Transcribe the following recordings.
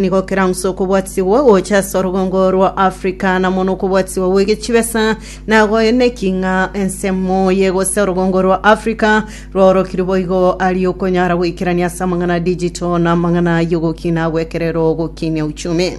Nigo kerang'use okobwatigwa gocha ase orogongo rwa Afrika na mono okobwatigwa gw'egechibesa na goeneki ng'a ensemo ye gose orogongo rwa Afrika rwaorokire boigo aria okonyara goikerania ase amang'ana a digital na amang'ana y'ogokina gw'ekerero gokinia uchumi.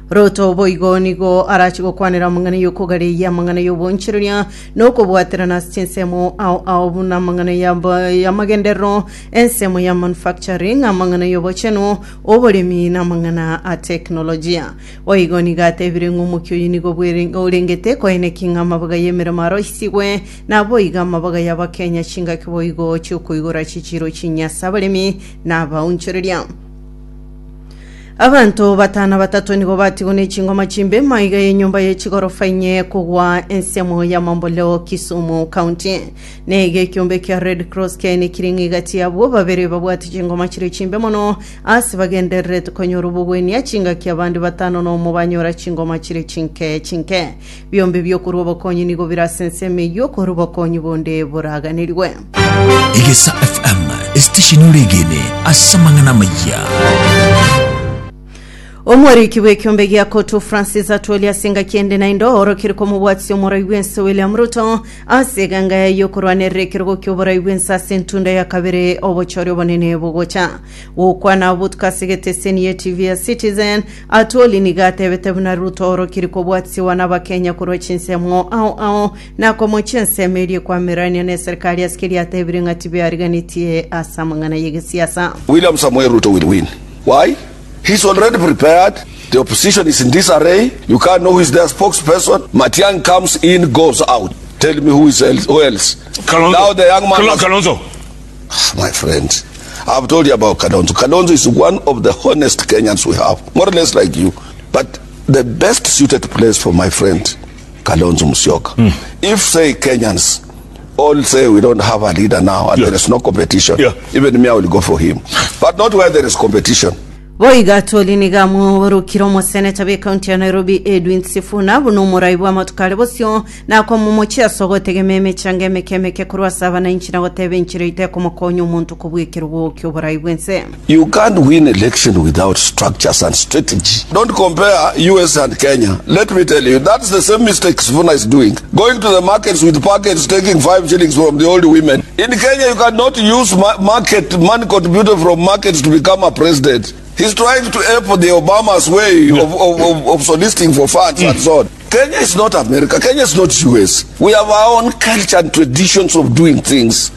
Ruto boigo nigo arache gokwanera amang'ana y'okogareyia amang'ana y'obonchereria na okobwaterana ase chinsemo ao ao buna amang'ana y'amagenderero Ensemo ya manufacturing, amang'ana y'obochenu, oboremi na amang'ana a teknolojia. Boigo nigo atebire ng'a omokia oyio nigo bwere- orengete koeneki ng'a amabaga y'emeremo aroisigwe, naboigo amabaga y'Abakenya chingaki boigo chi'okoigora chichiro chinyia ase abaremi na abaonchoreria. Abanto batano batato nigo batigwe ne chingoma chimbe maiga y'enyomba ye chigorofa inye kogwa ensemo ya Mamboleo Kisumu County. Nigo ekiombe kia Red Cross kiainekire ng'a egati y'abwo babere babwate chingoma chire chimbe mono ase bagendererete konyora obogwenia chingaki abande batano nomo banyora chingoma chire chinke chinke. Biombe bi'okorua obokonyi nigo bire ase ensemo eyio korwa obokonyi bonde boraganerigwe. Egesa FM, esitesheni oregene ase amang'ana amayia. Omoriki bw'ekiombe gia Kotu Francis Atwoli ase engaki ende naende oorokire komobwatisia omorai bw'ense William Ruto ase eganga yaye y'okorwanerera ekerogo ki'oborai bw'ense ase entunda ya kabere obochori obonene bogocha. Gokwana botuko ase egeteseni ye TV ya Citizen, Atwoli nigo atebete buna Ruto oorokire kobwatisiwa n'Abakenya korwa chinsemo ao ao na komochia ensemo eria ekwamererania n'eserikari ase keria atebire ng'a tibeariganetie ase amang'ana y'egesiasa. William Samoei Ruto will win. Why? He's already prepared, the opposition is in disarray, you can't know who is their spokesperson, Matiang'i comes in, goes out, tell me who is else, who else? Kalonzo. Now the young man Kalo- has- Kalonzo. My friend, I've told you about Kalonzo. Kalonzo is one of the honest Kenyans we have, more or less like you. But the best suited place for my friend, Kalonzo Musyoka. If, say, Kenyans all say we don't have a leader now and Yeah. there is no competition, Yeah. even me, I will go for him. But not where there is competition. Boigo Atwoli nigo amoborokire omoseneta bw'ekaunti ya Nairobi Edwin Sifuna buna omorai bw'amatuko are bosio na komomochia ase ogotegema emechango emeke emeke korwa ase abananchi na goteba enchera eyio tekomokonya omonto kobua ekerogo ki'oborai bw'ense. You can't win election without structures and strategy. Don't compare US and Kenya. Let me tell you, that's the same mistake Sifuna is doing. Going to the markets with packets, taking five shillings from the old women. In Kenya, you cannot use ma- market money contributed from markets to become a president. He's trying to ape the Obama's way of, of, of, of soliciting for funds and so on. Kenya is not America. Kenya is not US. We have our own culture and traditions of doing things.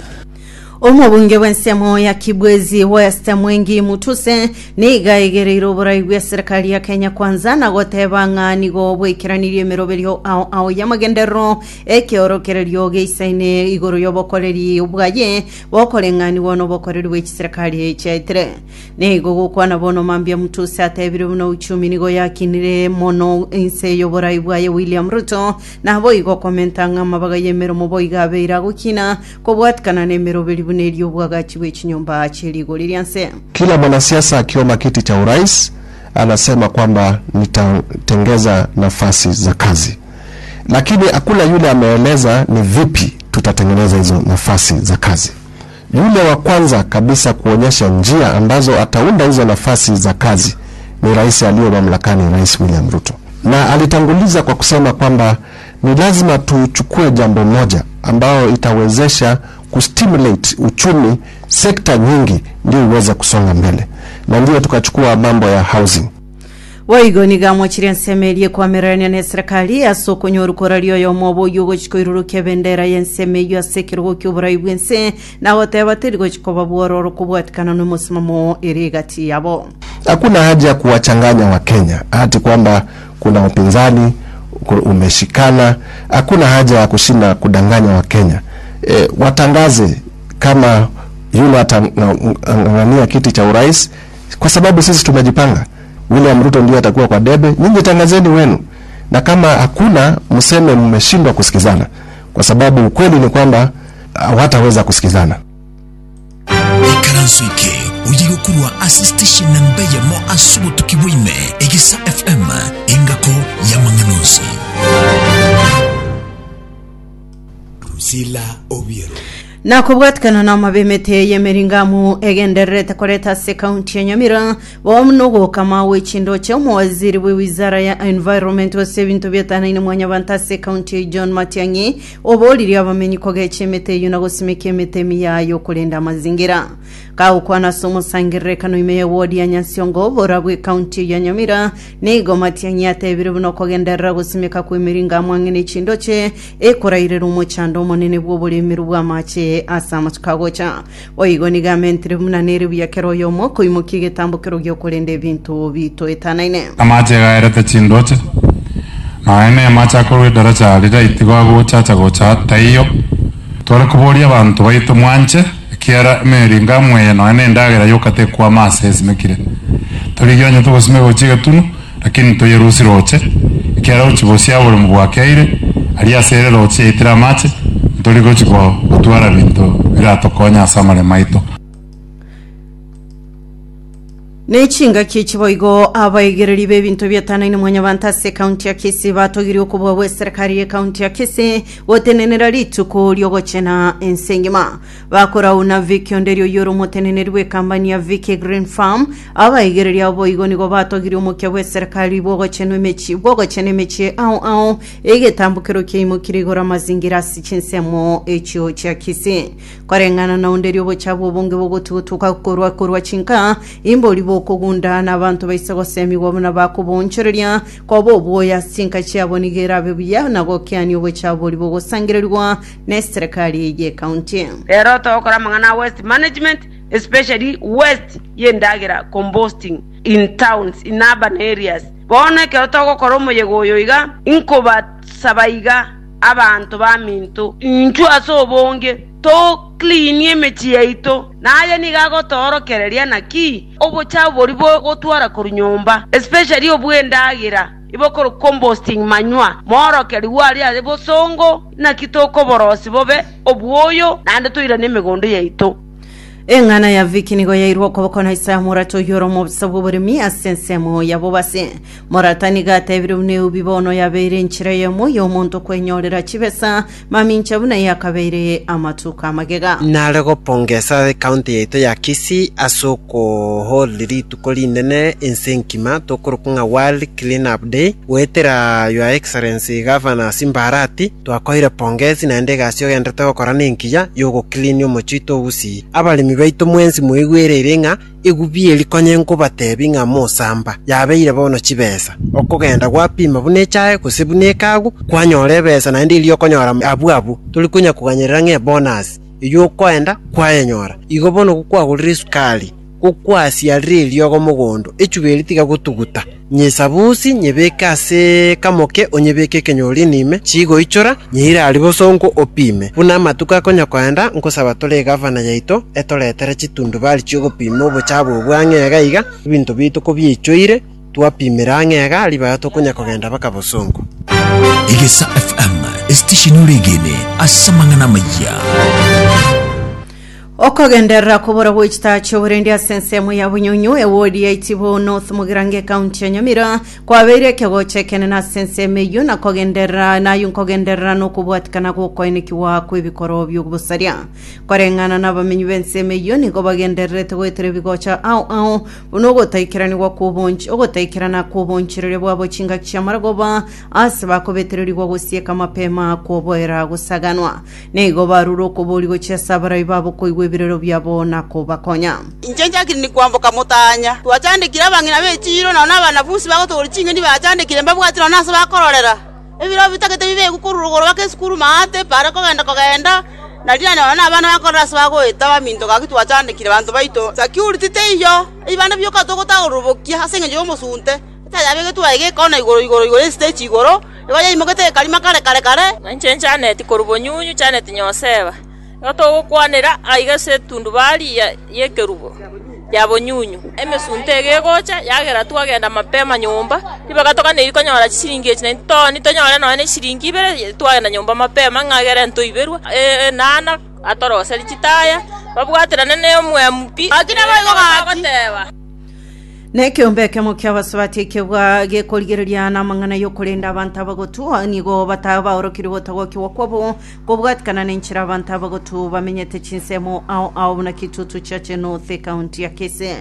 Omobunge bw'ensemo ya Kibwezi West Mwengi Mutuse nigo aigereire oborai bw'eserikali ya Kenya Kwanza na goteba ng'a nigo bwaikeranirie emeroberio ao ao y'amagenderero ekeorokererio geisaine igoro y'obokoreri bwaye bokoreng'anigwa n'obokoreri bwe chiserikali chiaetire. Nigo gokwana bono mambia Mutuse atebire buna uchumi nigo yakinire mono inse y'oborai bwaye William Ruto naboigo komenta ng'a amabaga y'emeromo boigo abeire agokina Kobwatikana nemeroberi buna eria obwagachi bwe chinyomba chie rigori ria nse. Kila mwanasiasa akiomba kiti cha urais anasema kwamba nitatengeza nafasi za kazi, lakini hakuna yule ameeleza ni vipi tutatengeneza hizo nafasi za kazi. Yule wa kwanza kabisa kuonyesha njia ambazo ataunda hizo nafasi za kazi ni rais aliye mamlakani, Rais William Ruto, na alitanguliza kwa kusema kwamba ni lazima tuchukue jambo moja ambayo itawezesha kustimulate uchumi sekta nyingi ndio iweze kusonga mbele, na ndio tukachukua mambo ya housing. Boigo nigo amochirie ensemo eria ekwamererania neserikali ase okonyora koraria oyomo obo oyio ogochia koirurukia ebendera y'ensemo eyio ase ekerogo ki'oborai bw'ense, na goteba teri gochia koba bwororo kobwatikana nomosimamo ere egati yabo. Hakuna haja ya kuwachanganya Wakenya ati kwamba kuna upinzani umeshikana. Hakuna haja ya kushinda kudanganya Wakenya. E, watangaze kama yule atang'ang'ania kiti cha urais, kwa sababu sisi tumejipanga. William Ruto ndiye atakuwa kwa debe, nyinyi tangazeni wenu, na kama hakuna mseme mmeshindwa kusikizana, kwa sababu ukweli ni kwamba hawataweza kusikizana. Ikaranso eke oye gokorwa ase station namba eyemo ase obotuki bwa ime, Egesa FM, engako y'amang'ana onsi. Drusilla Obiero. Na kobwatikana namabe emete y'emeringamu egendererete koreta ase ekaunti ya Nyamira, bono nogokama gwe chindoche omowaziri bwe wizara ya environment gose ebinto bietanaine mwanyabanto ase ekaunti eye John Matiang'i oboririe abamenyi kogecha emete eyio na gosimeka emete emiya yokorenda amazingira. Kagokwana ase omosangererekano ime ye ward ya Nyansiongo bora bwe ekaunti eye ya Nyamira, nigo Matiang'i atebire buna okogenderera gosimeka kw'emeringamu ang'e ne chindoche Ekorairere omochando omonene bw'oboremeru bw'amache ase amatuko agocha. Boigo nigo amentire buna nere buya kera oyomo koimokia egetambokero gi'okorenda ebinto bitoetanaine. Amache gaerete chindoche, nonya nemache akorwa edaracha riria itigo agocha acha gocha taiyo. Tware koboria abanto baito mwanche, ekiagera emeringamu eye nonya nendagera yoka tekwama ase esimekire. Torigie onye togosimeka gochia egetunu, Lakini toyerusie roche, ekiagera gochia bosia oboremo bwakeire, aria ase ere roche yaitire amache, ntori gochia gotwara binto biratokonye ase amaremo aito. Ne chingaki echi boigo abaigereri b'ebinto bietanaine mwanyabanto ase ekaunti ya Kisii batogirie okobua gw'eserekari y'ekaunti ya Kisii gotenenera rituko riogochena ense engima. Bakorau na Vicky Onderi oyio ore omoteneneri bw'ekambani ya Vicky Green Farm, abaigereria abo boigo nigo batogirie omokia bw'eserekari bw'ogochenwa emechie bw'ogochena emechie ao ao egetambokero kiaimokire igoro amazingira ase chinsemo echio chia Kisii. Koreng'ana na Onderi obochabu obonge bogotugutuka korwa korwa chinka imbori bokogunda na abanto baise gosemigwa buna bakoboonchoreria koba obwoya ase chinka chiabo nigo erabe buya na gokeania obochabu boria bogosangererigwa Neserekari y'ekaunti. Rero togokora amang'ana a waste management especially waste y'endagera composting in towns in urban areas. Bono ekero togokora omoyega oyo iga inkobasaba iga abanto baminto inchuo ase obonge to clean emechie yaito. Na aye nigo agotoorokereria naki obochafu boria bogotwara korwa nyomba especially obw'endagera. Ibokorwa composting manywa, moorokerigwe aria are bosongo, naki tokoborosia bobe obwoyo, naende toirane emegondo yaito. Eng'ana ya Vicky nigo yairwe okoboko na Isaya Morata oyio ore omobisa bw'oboremi ase ensemo ya bobasi. Morata nigo atebire buna eubi bono yabeire enchera eyemo y'omonto kwenyorera chibesa, mamincha buna yakabeire amatuko amagega. Nare gopongesa ecounty yaito ya Kisii ase okohold rituko rinene ense enkima tokorokwa ng'a World Clean Up Day goetera Your Excellency Governor Simba Arati twakoire pongezi naende egasi ogenderete gokora nenkiya yogoclean omochie oito o Gusii. Abaremi baito mwensi mwaigwereire ng'a Egubi eri konya nkobatebi ng'a mosamba yabeire bono chibesa. Okogenda gwapima buna echae gose buna ekagu, kwanyora ebesa naende eria okonyora abwo abwo. Tori konya koganyerera ng'a ebonus eyio okoenda kwayenyora. Igo bono gokwagorire esukari, gokwasiarire eriogo mogondo, echuba eria tiga gotuguta. Nyesabusi, nyebeke ase kamoke, onyebeke ekenyorini ime, chigoichora, nyeire aria bosongo opime. Buna amatuko akonya koenda, nkosaba tore egavana yaito etoretere chitundubari chi'ogopima obochabu obwo ang'e iga iga, ebinto biaito kobiaichoire, twapimera ang'e iga, ribaga tokonya kogenda baka bosongo. Egesa FM, esitesheni oregene ase amang'ana amayia. Okogenderera kobora gwe chitaa chi'oborendi ase ensemo ya Bunyunyu, ewodi ya Itibo North Mugirango ekaunti ya Nyamira, kwabeire ekegocha ekenene ase ensemo eyio na kogenderera nayo nkogenderera nokobwatikana gwokoenekigwa kw'ebikoro bi'obosaria. Koreng'ana nabamenyi b'ensemo eyio nigo bagendererete goetera ebigocha ao ao buna ogotaikeranigwa kw'obonch ogotaikerana kw'obonchereria bwabo chingaki chi'amaragoba ase bakobetererigwa gosieka mapema kwoboera gosaganwa. Nigo barure okoboria gochia ase abarai babo koigwa ebirero biabo na kobakonya. Inche nchakire kwamboka motanya. Twachandekire abang'ina b'echiiro, nonya nabanafunsi bagotogoria ching'eni bachandekire, mbabwati nonya nase bakororera. Ebirobio bitagete bibekwe korwa rogoro baka esukuru maate, bare kogenda kogenda, na riria nonya nabana bakorora ase bagoeta baminto gaki twachandekire abanto baito. Security teiyo, ebibanda bioka togotagororobokia ase engencho y'omosunte. Etaya yabegetwe aiga ekona igoro igoro igoro estage igoro, igo yaimogete ekarima kare kare kare. Na inche Janeti korwa bonyunyu, Janeti Nyoseba, nigo togokwanera aiga ase etundubari y'ekerubo ya bonyunyu. Emesunte ege egocha, yagera twagenda mapema nyomba, ribaga toganeirie konyora chisiringi echi naintwe tooni tonyore nonya ne eshiringi ibere, twagenda nyomba mapema ng'a egere ntoiberwe enana atoroserie chitaya, babwaterane ne omwemu pi. Gaki naboigo gaki. Agoteba. Nekeombe ekemo ki'abasubati ekebwa gekorigereria namang'ana y'okorenda abanto abagotu, nigo batabaorokire gotagokigwa kwabo kobwatikana nenchera abanto abagotu bamenyete chinsemo ao ao buna Kitutu Chache North ekaunti ya Kisii.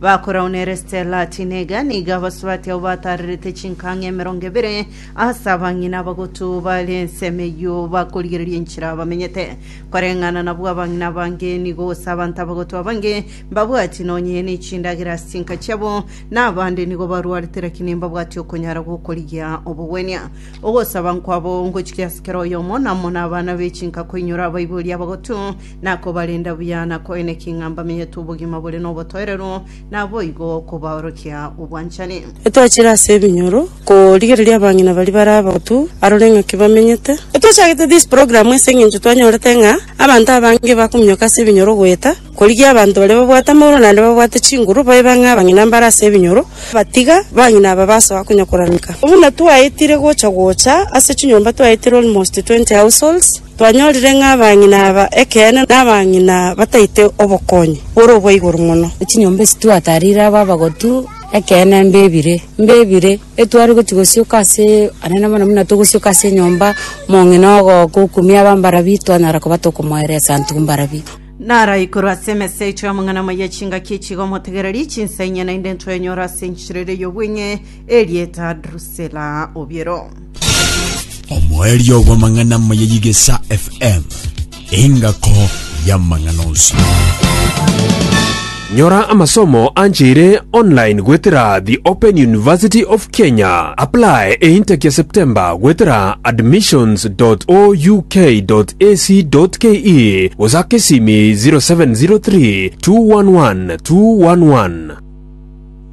Bakorao nere Stella Tinega nigo abasubati abwo batarerete chinkang'a emerongo ebere ase abang'ina abagotu bare ensemo eyio bakorigereria enchera bamenyete. Koreng'ana nabwo abang'ina abange nigo gose abanto abagotu abange Mbabwati nonye ne chindagera ase chinka chiabo, na abande nigo barwarete lakini mbabwati okonyara gw'okorigia obogwenia. Ogosaba nkwabo ngochikia ase kera oyomo na amo nabana be chinka koinyora abaibori abagotu, na kobarenda buya, na koenekia ng'a mbamenyete obogima bore nobotoereru, naboigo kobaorokia obwanchani. Etwachire ase ebinyoro korigereria abang'ina baria bare abagotu arore ng'aki bamenyete. Etwachagete this program ase eng'encho twanyorete ng'a abanto abange bakominyoka ase ebinyoro goeta. Korigia abanto baria babwate amagoro naende babwate chinguru, babe ng'a abang'ina mbare ase ebinyoro, batiga bang'ina aba basoa konya koraruka. Buna twaetire gocha gocha ase chinyomba twaetire almost 20 households, twanyorire ng'a abang'ina aba ekeene nabang'ina bataete obokonyi bore obwa igoro mono. Chinyomba esi twatarire aba abagotu, ekeene mbebire, mbebire, etware gochia gosioka ase anene mono buna togosioka ase enyomba, omong'ina ogoka okumia aba mbarabi, twanyara koba tokomoeresa intwe mbarabi. Nara igoro ase emesa yaito y'amang'ana amaya chingaki echi iga omotegereri chinsa inye naende ntwenyore ase enchera ere y'obweng'e erieta Drusilla Obiero. Omoerio bw'amang'ana amaya y'Igesa FM, engako y'amang'ana onsi. Nyora amasomo ancheire online goetera The Open University of Kenya. Apply eintake ya September goetera admissions.ouk.ac.ke gose ake esimi 0703 211 211.